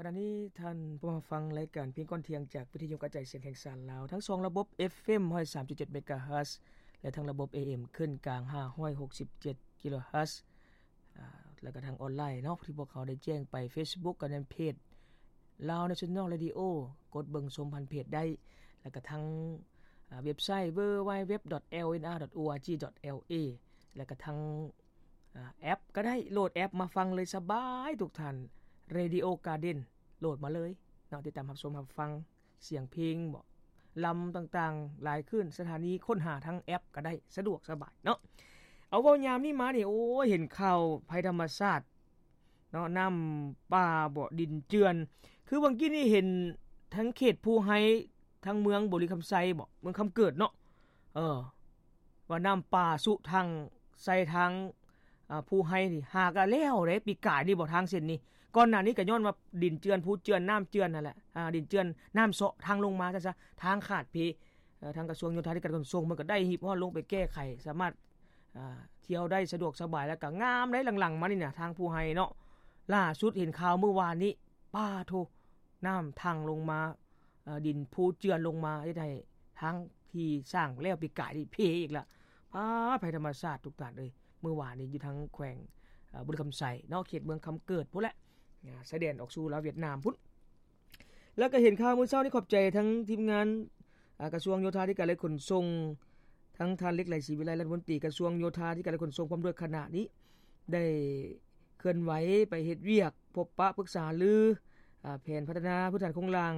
ຂະນະນີ້ທ່ານຜູ້ມາຟັງລາຍການພຽງກ່ອນທ່ຽງ ຈາກວິທະຍຸກະຈາຍສຽງແຫ່ງຊາດລາວ ທັງສອງລະບົບ ເອັຟເອັມ ຮ້ອຍສາມຈຸດເຈັດ ເມກາເຮີດ ແລະ ທັງລະບົບ ເອເອັມ ຂຶ້ນກາງ ຫ້າຮ້ອຍຫົກສິບເຈັດ ກິໂລເຮີດ ອາ ແລ້ວກະທາງອອນລາຍເນາະ ທີ່ພວກເຮົາໄດ້ແຈ້ງໄປ ເຟສບຸກ ກະແມ່ນເພຈ Lao National Radio ກົດເບິ່ງຊົມຜ່ານເພຈໄດ້ ແລ້ວກະທາງ ອາ ເວັບໄຊ www.lnr.org.la ແລ້ວກະທາງ ອາ ແອັບກະໄດ້ ໂຫຼດແອັບມາຟັງເລີຍ ສະບາຍທຸກທ່ານ Radio Garden ໂຫຼດມາເລີຍເນາະ ຕິດຕາມຮັບຊົມຮັບຟັງສຽງເພງບໍ ລຳຕ່າງໆ ຫຼາຍຂຶ້ນ ສະຖານີຄົ້ນຫາທາງແອັບກະໄດ້ ສະດວກສະບາຍເນາະ. ເອົາ ເວົ້າຍາມນີ້ມານີ້ ໂອ້ຍ ເຫັນຂ່າວໄພທຳມະຊາດເນາະ ນ້ຳປ່າບໍ ດິນເຈື່ອນ ຄືຫວ່າງກີ້ນີ້ເຫັນທາງເຂດພູໄຮ ທາງເມືອງບໍລິຄຳໄຊບໍ ເມືອງຄຳເກີດເນາະ ເອີ ວ່ານ້ຳປ່າຊຸທາງ ໃສ່ທາງ ອາ ພູໄຮນີ້ ຫາກະແລ້ວເດ້ ປີກາຍນີ້ບໍ ທາງເສັ້ນນີ້ ກ່ອນໜ້ານີ້ກະຍ້ອນວ່າດິນເຈື່ອນ ພູເຈື່ອນ ນ້ຳເຈື່ອນຫັ້ນແຫຼະ ອາ ດິນເຈື່ອນ ນ້ຳເຊາະທາງລົງມາຊັ້ນຊະ ທາງຂາດເພ ເອີ ທາງກະຊວງໂຍທາທິການຂົນສົ່ງເພິ່ນກະໄດ້ຮີບຮ້ອນລົງໄປແກ້ໄຂ ສາມາດ ອາ ທ່ຽວໄດ້ສະດວກສະບາຍ ແລ້ວກະງາມໄດ໋ ຫຼັງໆມານີ້ນະ ທາງພູໄຮເນາະ ລ່າສຸດເຫັນຂ່າວມື້ວານນີ້ ປາໂທ້ ນ້ຳທັ່ງລົງມາ ເອີ ດິນພູເຈື່ອນລົງມາ ເຮັດໃຫ້ທາງທີ່ສ້າງແລ້ວປີກາຍນີ້ເພອີກລະ ປາດ ໄພທຳມະຊາດທຸກທ່ານເອີຍ ມື້ວານນີ້ຢູ່ທາງແຂວງ ອາ ບໍລິຄຳໄຊເນາະ ເຂດເມືອງຄຳເກີດພຸ້ນແຫຼະ ອາ ຊາຍແດນອອກສູ່ລາວຫວຽດນາມພຸ້ນ. ແລ້ວກະເຫັນຂ່າວມື້ເຊົ້ານີ້ ຂອບໃຈທັງທີມງານ ອາ ກະຊວງໂຍທາທິການ ແລະ ຂົນສົ່ງ ທັງທ່ານ ເລັກ ໄຫຼ ສີວິໄລ ລັດຖະມົນຕີກະຊວງໂຍທາທິການ ແລະ ຂົນສົ່ງ ພ້ອມດ້ວຍຄະນະນີ້ ໄດ້ເຄື່ອນໄຫວໄປເຮັດວຽກ ພົບປະປຶກສາຫາລື ອາ ແຜນພັດທະນາພື້ນຖານໂຄງລ່າງ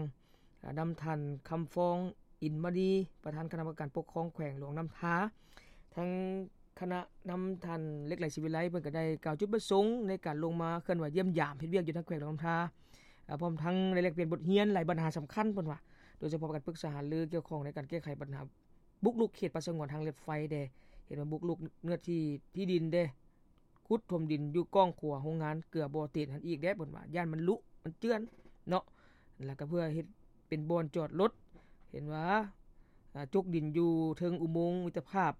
ອາ ນຳທ່ານ ຄຳຟອງ ອິນມະນີ ປະທານຄະນະກຳມະການປົກຄອງແຂວງຫຼວງນ້ຳທາ ທັງຄະນະນຳທ່ານ ເລັກ ໄຫຼ ສີວິໄລ ເພິ່ນກະໄດ້ກ່າວຈຸດປະສົງໃນການລົງມາເຄື່ອນໄຫວຢ້ຽມຢາມເຮັດວຽກຢູ່ທາງແຂວງຫຼວງນ້ຳທາ ອາ ພ້ອມທັງໄດ້ແລກປ່ຽນບົດຮຽນຫຼາຍບັນຫາສຳຄັນ ເພິ່ນວ່າ ໂດຍສະເພາະການປຶກສາຫາລືກ່ຽວຂ້ອງໃນການແກ້ໄຂບັນຫາບຸກລຸກເຂດປ່າສະຫງວນທາງລົດໄຟແດ່ ເຫັນວ່າບຸກລຸກເນື້ອທີ່ທີ່ດິນແດ່ ຂຸດຖົມດິນຢູ່ກ້ອງຂົວໂຮງງານເກືອບໍ່ເຕັນຫັ້ນອີກແດ່ ເພິ່ນວ່າ ຢ້ານມັນລຸ ມັນເຈື່ອນເນາະ ແລ້ວກະເພື່ອເຮັດເປັນບ່ອນຈອດລົດ ເຫັນວ່າ ອາ ຈົກດິນຢູ່ເທິງອຸໂມງມິດຕະພາບ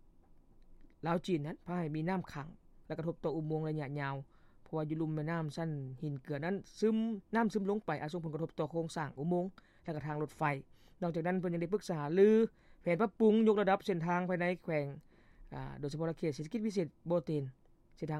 ລາວຈີນນັ້ນ ພາໃຫ້ມີນ້ຳຂັງ ແລ້ວກະທົບຕໍ່ອຸໂມງໄລຍະຍາວ ເພາະວ່າຢູ່ລຸ່ມແມ່ນ້ຳຊັ້ນຫີນເກືອນັ້ນຊຶມ ນ້ຳຊຶມລົງໄປ ອາດສົ່ງຜົນກະທົບຕໍ່ໂຄງສ້າງອຸໂມງ ແລະກະທາງລົດໄຟ. ນອກຈາກນັ້ນເພິ່ນຍັງໄດ້ປຶກສາຫາລືແຜນປັບປຸງຍົກລະດັບເສັ້ນທາງພາຍໃນແຂວງ ອາ ໂດຍສະເພາະເຂດເສດຖະກິດພິເສດບໍ່ເຕັນ ເສັ້ນທາງ